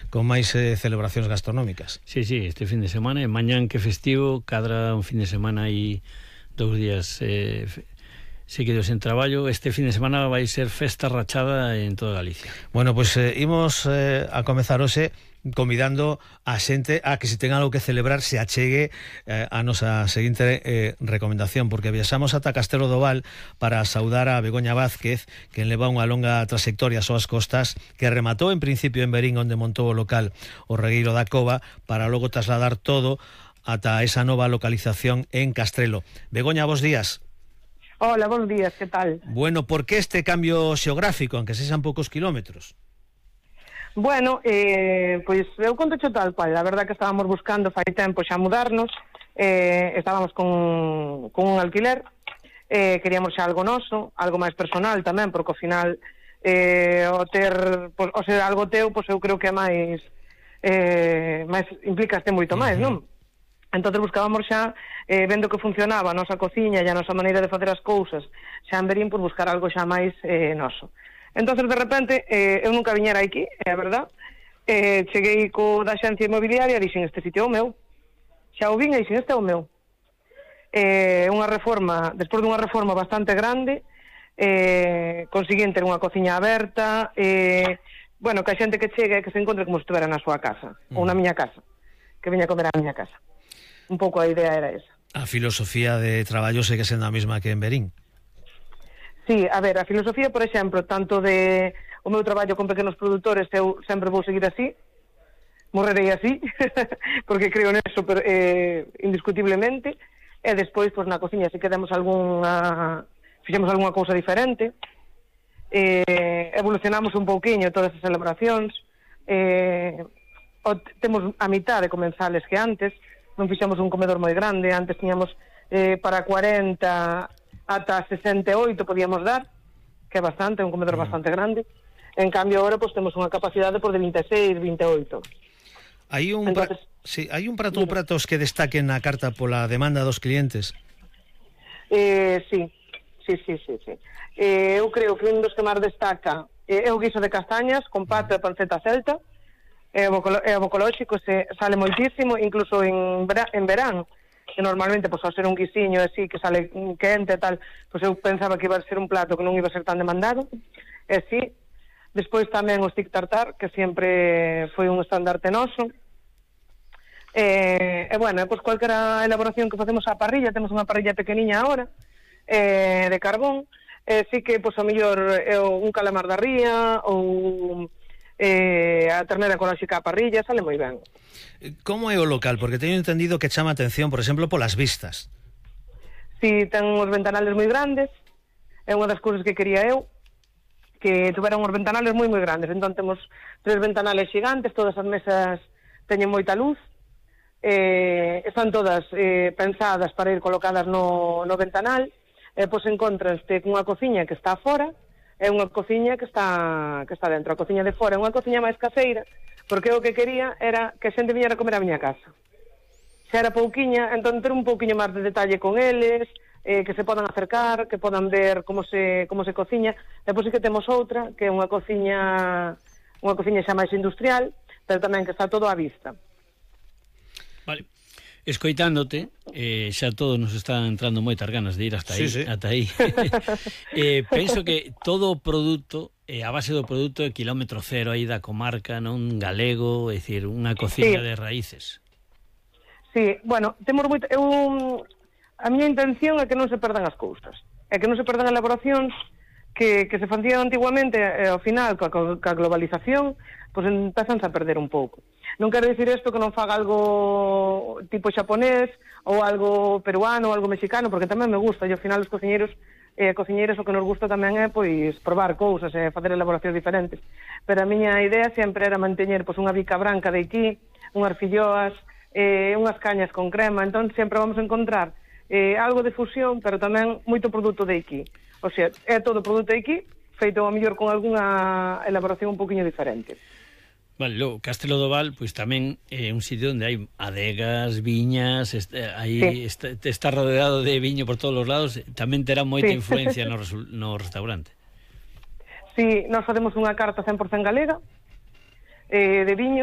con máis celebracións gastronómicas. Sí, este fin de semana, e mañán que festivo, cadra un fin de semana e 2 días seguidos en traballo. Este fin de semana vai ser festa rachada en toda Galicia. Bueno, pois imos a comezar hoxe convidando a xente a que se ten algo que celebrar se achegue a nosa seguinte recomendación, porque viaxamos ata Castelo do Val para saudar a Begoña Vázquez, que leva unha longa trayectoria ás súas costas, que rematou en principio en Verín, onde montou o local o Regueiro da Cova, para logo trasladar todo ata esa nova localización en Castrelo. Begoña, bos días. Hola, bons días, que tal? Bueno, por que este cambio xeográfico, aunque sexan poucos kilómetros? Bueno, pois eu conto tal cual. A verdad que estábamos buscando fai tempo xa mudarnos, estábamos con un alquiler, queríamos xa algo noso, algo máis personal tamén, porque ao final o ter, pois, o ser algo teu, pois eu creo que é máis implicaste moito máis, non? Entonces buscábamos xa, vendo que funcionaba a nosa cociña e a nosa maneira de facer as cousas xa en Verín, por buscar algo xa máis noso. Entonces, de repente, eu nunca viñera aquí, é verdad, cheguei co da xencia inmobiliaria e dixen, este sitio é o meu. Xa o vin e dixen, este é o meu. Unha reforma, despois dunha reforma bastante grande, conseguín ter unha cociña aberta, bueno, que a xente que chegue que se encontre como se estivera na súa casa, ou na miña casa, que viña a comer á miña casa. Un pouco a idea era esa. A filosofía de traballo segue sendo a mesma que en Verín. Sí, a ver, a filosofía, por exemplo, tanto de o meu traballo con pequenos produtores, eu sempre vou seguir así, morrerei así, porque creo neso indiscutiblemente, e despois, pois, na cociña, se quedamos fixemos algunha cousa diferente, evolucionamos un pouquiño todas as elaboracións, temos a mitad de comensales que antes, non fixemos un comedor moi grande, antes tiñamos para 40... ata 68 podíamos dar, que é bastante, é un comedor bastante grande. En cambio, agora pues, temos unha capacidade por de 26, 28. Hai un prato ou pratos que destaquen na carta pola demanda dos clientes? Sí. Eu creo que un dos que máis destaca é o guiso de castañas con pato e panceta celta. É o bocolóxico, sale moitísimo, incluso en verán, que normalmente, pois, ao ser un guisiño así, que sale quente e tal, pois eu pensaba que iba a ser un plato que non iba a ser tan demandado, e sí. Despois tamén o stick tartar, que sempre foi un estandarte noso, e bueno, pois cualquera elaboración que facemos á parrilla, temos unha parrilla pequeniña agora, de carbón, sí que, pois, ao mellor un calamar da ría, ou a ternera ecolóxica á parrilla, sale moi ben. Como é o local? Porque teño entendido que chama atención, por exemplo, polas vistas. Si, ten uns ventanales moi grandes, é unha das cousas que quería eu, que tuveran uns ventanales moi grandes. Entón temos 3 ventanales gigantes, todas as mesas teñen moita luz, están todas pensadas para ir colocadas no ventanal, pois encontranste cunha cociña que está fora, é unha cociña que está dentro. A cociña de fora é unha cociña máis caseira, porque o que quería era que a xente viñera a comer a miña casa. Xa era pouquiña, entón ter un pouquiño máis de detalle con eles, que se podan acercar, que podan ver como se cociña. Depois sí que temos outra, que é unha cociña xa máis industrial, pero tamén que está todo á vista. Vale. Escoitándote, xa todos nos están entrando moitas ganas de ir hasta aí, sí. Ata aí. Penso que todo o produto, a base do produto é kilómetro cero aí da comarca, non galego, é dicir, unha cociña de raíces. Sí, bueno, temos moito... a miña intención é que non se perdan as cousas, é que non se perdan elaboracións que se facían antiguamente, ao final, coa globalización, pois empezanse a perder un pouco. Non quero dicir isto que non faga algo tipo xaponés ou algo peruano ou algo mexicano, porque tamén me gusta, e ao final os cociñeiros e cociñeiras o que nos gusta tamén é pois probar cousas e facer elaboracións diferentes. Pero a miña idea sempre era manteñer pois unha bica branca de aquí, unhas filloas, unhas cañas con crema, entón sempre vamos a encontrar algo de fusión, pero tamén moito produto de aquí. O sea, é todo produto de aquí, feito a mellor con algunha elaboración un poquinho diferente. Vale, logo, Castelo do Val, pois tamén é un sitio onde hai adegas, viñas, aí sí. está rodeado de viño por todos os lados, tamén terá moita influencia no restaurante. Sí, nós facemos unha carta 100% galega, de viños,